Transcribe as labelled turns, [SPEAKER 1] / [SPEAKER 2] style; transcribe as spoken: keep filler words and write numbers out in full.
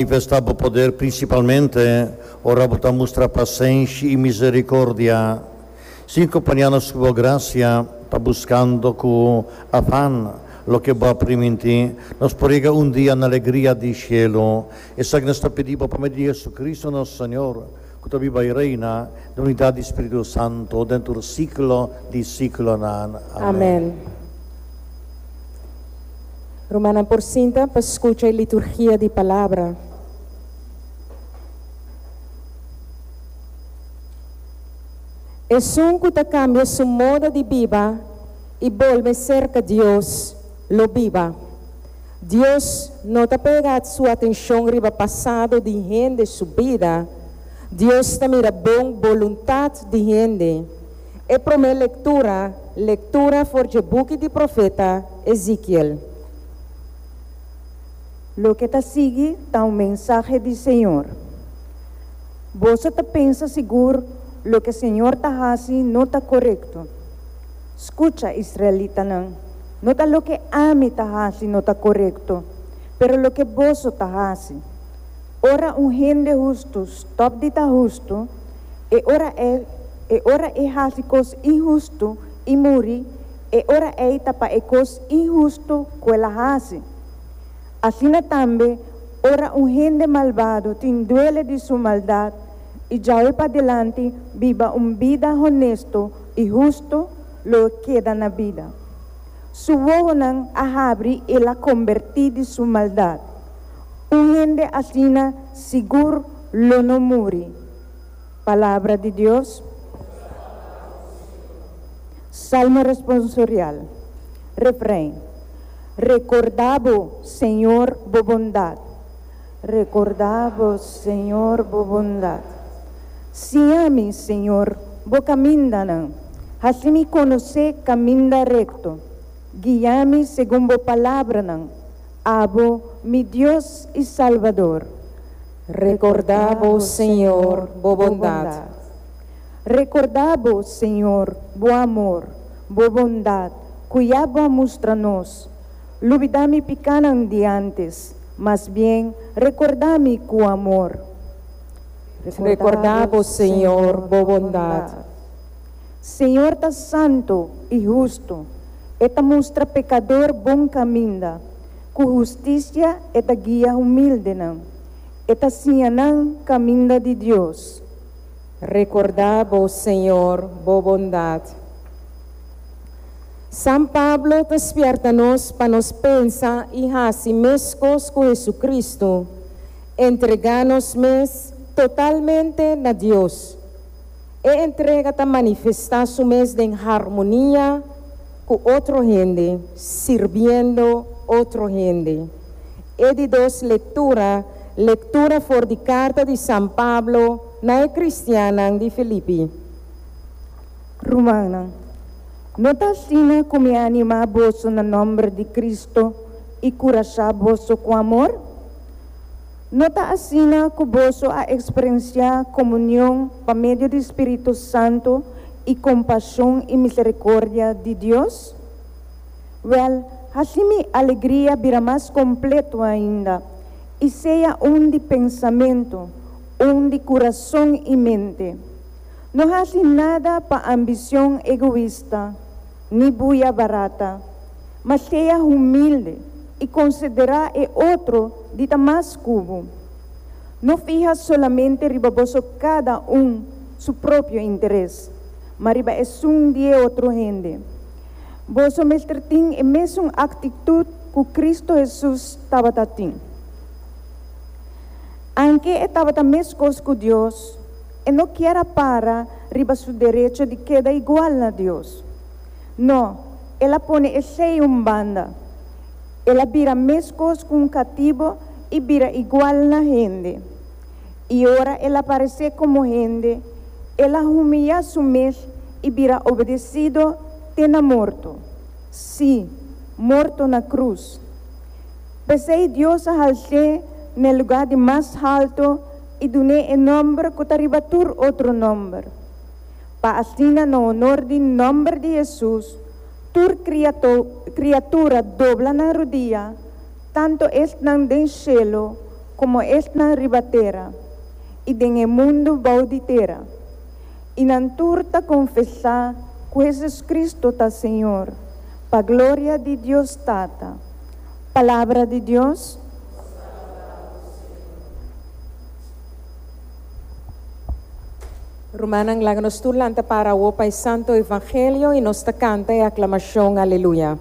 [SPEAKER 1] Manifestá bo poder prinsipalmente ora bo ta mustra pasenshi i miserikordia. Sin kompañá nos ku bo grasia, pa buskando ku afan loke bo a primintí, nos por yega un dia na alegria di shelu. Esaki nos ta pidi bo pa medio di Jesucristo nos Señor, ku ta biba i reina den unidat di Spiritu Santu, den tur siglo di siglonan.
[SPEAKER 2] Amèn. Rumannan por sinta pa skucha e liturgia di palabra. Esun ku ta kambia su moda di biba i bolbe serka Dios, lo biba. Dios no ta pega su atenshon riba pasado di hende su bida. Dios ta mira bon boluntat di hende. E promé lektura, lektura for dje buki di profeta Ezekiel.
[SPEAKER 3] Loke ta sigui ta un mensahe di Señor. Boso ta pensa sigur loke Señor ta hasi no ta korekto. Skucha, israelitanan, no ta loke ami ta hasi no ta korekto, pero loke boso ta hasi. Ora un hende hustu stòp di ta hustu, e ora ei e ora e hasi kos inhustu i muri, e ora ei ta pa e kos inhustu ku el a hasi. Asina tambe, ora un hende malbado tin duele di su maldat i djawe padilanti biba un bida honesto i hustu, lo e keda na bida. Su wowonan a habri i el a kombertí di su maldat. Un hende asina sigur lo no muri. Palabra di Dios. Salmo responsorial. Refrein. Rekordá bo, Señor, bo bondat. Rekordá bo, Señor, bo bondat. Siña mi, Señor, bo kamindanan. Hasi mi konosé kaminda rekto. Guia mi segun bo palabranan. Abo, mi Dios i Salbador.
[SPEAKER 2] Rekordá bo, Señor, bo bondat.
[SPEAKER 3] Rekordá bo, Señor, bo amor, bo bondat, ku ya bo a mustra nos. Lubidá mi pikánan di ántes, mas bien rekordá mi ku amor.
[SPEAKER 2] Rekordá bo, Señor, bo bondat.
[SPEAKER 3] Señor ta santu i hustu, e ta mustra pekador bon kaminda. Ku hustisia e ta guia humildenan, e ta siña nan kaminda di Dios.
[SPEAKER 2] Rekordá bo, Señor, bo bondat. San Pablo ta spièrta nos pa nos pensa i hasi meskos ku Hesucristo, entregá nos mes totalmente na Dios. E entrega ta manifestá su mes den harmonia ku otro hende, sirbiendo otro hende. E di dos lektura, lektura for di karta di San Pablo na e kristiannan di Filipi.
[SPEAKER 3] Rumannan, no ta asina ku mi a animá boso na nòmber di Cristo i kurashá boso ku amor? No ta asina ku boso a eksperensiá komunion pa medio di Spiritu Santu i kompashon i miserikordia di Dios? Wèl, hasi mi alegria bira mas kompleto ainda, i sea un di pensamentu, un di kurason i mente. No hasi nada pa ambicion egoista, ni buya barata, ma sea humilde i konsiderá e otro di ta mas ku bo. No fiha solamente riba boso kada un su propio interes, ma riba esun di e otro hende. Boso mester tin e mesun aktitut ku Kristu Hesus tabata tin. Anke e tabata meskos ku Dios, e no kier a para riba su derecho di keda igual na Dios. No, el a pone esei un banda. El a bira meskos ku un katibo i bira igual na hende. I ora el a paresé komo hende, el a humiyá su mes i bira obedesido te na morto, sí, morto na krus. P'esei Dios a hals'é n'e lugá di mas halto i dun'é e nòmber ku ta riba tur otro nòmber, pa asina na honor di nòmber di Hesus tur kriatura dobla nan rudia, tantu esnan den shelu Komo esnan riba tera i den e mundu bou di tera. I nan tur ta konfesá ku Jesucristo ta Señor, pa gloria di Dios Tata. Palabra di Dios.
[SPEAKER 2] Rumannan, laga nos tur lanta para pa e Santo Evangelio i nos ta kanta e aklamashon, aleluya.